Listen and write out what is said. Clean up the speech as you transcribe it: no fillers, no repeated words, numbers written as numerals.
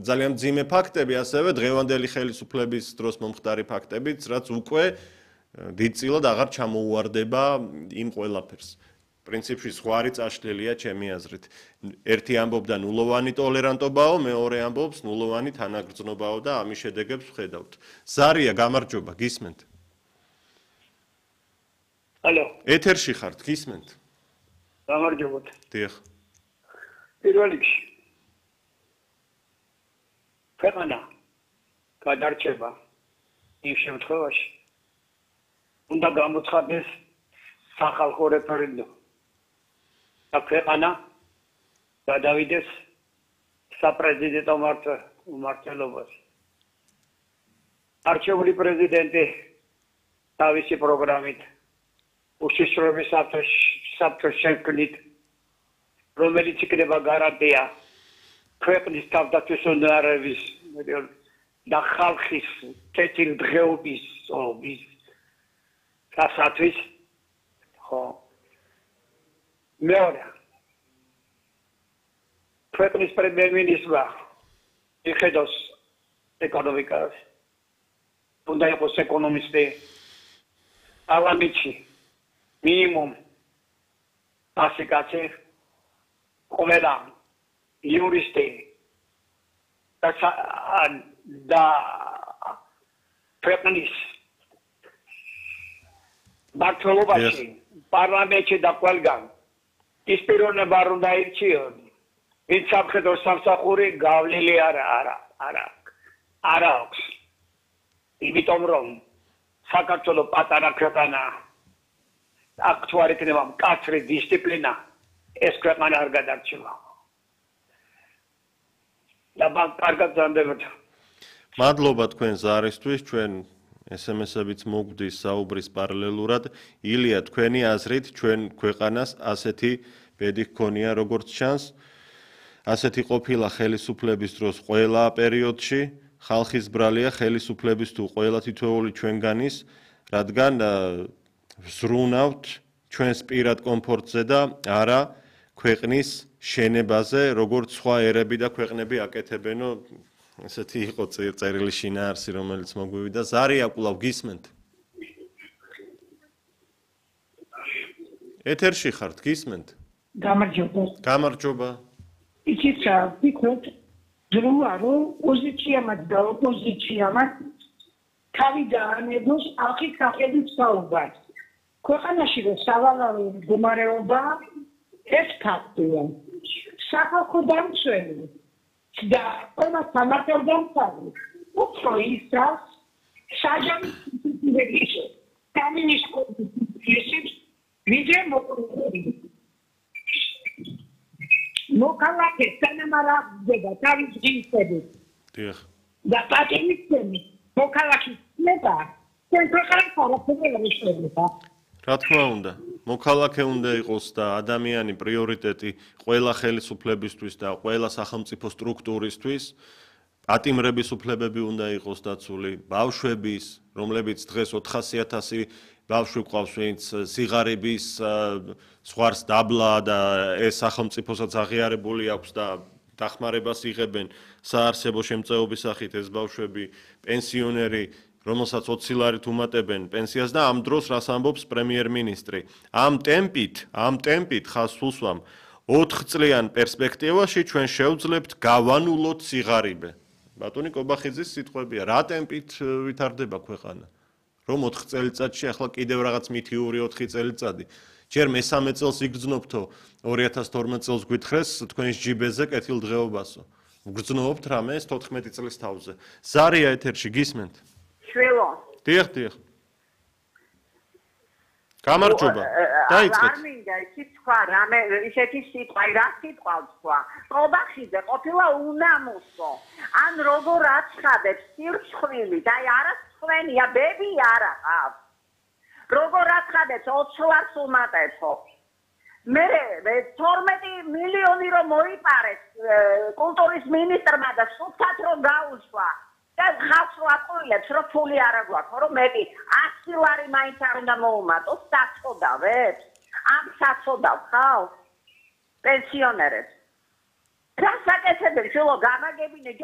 ძალიან მძიმე ფაქტები, ასევე დღევანდელი ხელისუფლების დროს მომხდარი ფაქტებიც, რაც უკვე დიდწილად აღარ ჩამოუვარდება იმ ყველაფერს. პრინციპში სხვა არის წაშლილია ჩემი აზრით. ერთი ამბობდა ნულოვანი ტოლერანტობაო, მეორე ამბობს ნულოვანი თანაგრძნობაო და ამის შედეგებს ვხედავთ. ზარია, გამარჯობა, გისმენთ? ალო. ეთერში ხართ, გისმენთ? გამარჯობოთ. დიახ. პირველ რიგში ქვეყანა გადარჩება იმ შემთხვევაში უნდა გამოცხადდეს სახალხო რეფერენდუმი და ქვეყანა გადავიდეს საპრეზიდენტო მმართველობაში. არჩეული პრეზიდენტი თავისი პროგრამით უშიშროების საბჭოს შექმნით, რომელიც იქნება გარანტია ქვეყნის თავდაცვის უნარების და ხალხის კეთილდღეობის გასათვის, ხო. მეორე, ქვეყნის პრემიერ-მინისტრმა იხედოს ეკონომიკას, უნდა იყოს ეკონომისტი, პარლამენტში მინიმუმ 100 კაცი, ყველა იურისტი და ქვეყნის მმართველობაში პარლამენტში და ყველგან ის პიროვნება არ უნდა ირჩიონ, ვინც სამხედრო სამსახური გავლილი არ აქვს. იმიტომ რომ საქართველოს პატარა ქვეყანაა, აქ თუ არ იქნება მკაცრი დისციპლინა, ეს ქვეყანა არ გადარჩება. და კარგად ზამდებოდ. მადლობა თქვენ ზარისთვის, ჩვენ SMS-ებიც მოგვდის საუბრის პარალელურად. ილია, თქვენი აზრით, ჩვენ ქვეყანას ასეთი ბედი ჰქონია, როგორც ჩანს, ასეთი ყოფილა ხელისუფლების დროს ყველა პერიოდში, ხალხის ბრალია ხელისუფლების თუ ყველა თითოეული ჩვენგანის, რადგან ვზრუნავთ ჩვენს პირად კომფორტზე და არა ქვეყნის შენებაზე, როგორც სხვა ერები და ქვეყნები აკეთებენო. ესეთი იყო წერილი შინაარსი, რომელიც მოგვივიდა. ზარია, კვლავ გისმენთ? ეთერში ხართ, გისმენთ? გამარჯობა. გამარჯობა. იცით რა, ვფიქრობ, დროა რომ პოზიციამაც და ოპოზიციამაც თავი დაანებოს ახის სახელით საუბარს. ქვეყანაში რომ სავალალო მდგომარეობა ეს ფაქტია. სახალხო დამცველი და ყველა სამართალ დამცავი უფრო ისას საჯარის სამინისტროს ვიდრე მოქალაქე თანამარაგდება თავის ძინსებით. დიახ. და პატიმისცემი მოქალაქის ნება ჩვენ ქვეყანას არაფერი არ იშლება. რა თქმა უნდა, მოქალაქე უნდა იყოს და ადამიანი პრიორიტეტი ყველა ხელისუფლებისთვის და ყველა სახელმწიფო სტრუქტურისთვის. პატიმრების უფლებები უნდა იყოს დაცული, ბავშვების, რომლებიც დღეს 400,000 ბავშვი ყავს, ვინც სიღარიბის ზღვარს დაბლა და ეს სახელმწიფოსაც აღიარებული აქვს და დახმარებას იღებენ საარსებო შემწეობის სახით ეს ბავშვები, პენსიონერი, რომელსაც 20 ლარით უმატებენ პენსიას და ამ დროს რას ამბობს პრემიერ-მინისტრი. ამ ტემპით ხას უსვამ 4 წლიან პერსპექტივაში ჩვენ შევძლებთ გავანულოთ სიღარიბე. ბატონი კობახიძის სიტყვებია, რა ტემპით ვითარდება ქვეყანა? რომ 4 წელიწადში ახლა კიდევ რაღაც მითიური 4 წელიწადი. ჯერ მესამე წელს იგრძნობთო 2012 წელს გვითხრეს თქვენის ჯიბეზე კეთილდღეობასო. ვგრძნობთ რამე ეს 14 წლის თავზე. ზარია ეთერში გისმენთ? შველო. დიახ. გამარჯობა. დაიწყეთ. არ მინდა ისე თქვა რამე ისეთი სიტყვა, რა სიტყვა თქვა. კობახიძე ყოფილა უნამუსო. ან როგორ აცხადებს სირცხვილი და არასწვენია ბები არა ყავს. როგორ აცხადებს 20 ლარს უმატებო. მე 12 მილიონი რომ მოიპარეს კულტურის მინისტრმა და სულთად რომ გაუშვა. და ხალხს ვაყოლებს რომ ფული არ აგვაქვს, რომ მეტი 100 ლარი მაინც არ უნდა მოუმატოს, საწოდავებს. ამ საწოდავ ხალხს პენსიონერებს. რა საკეთებენ, შულო გამაგებინე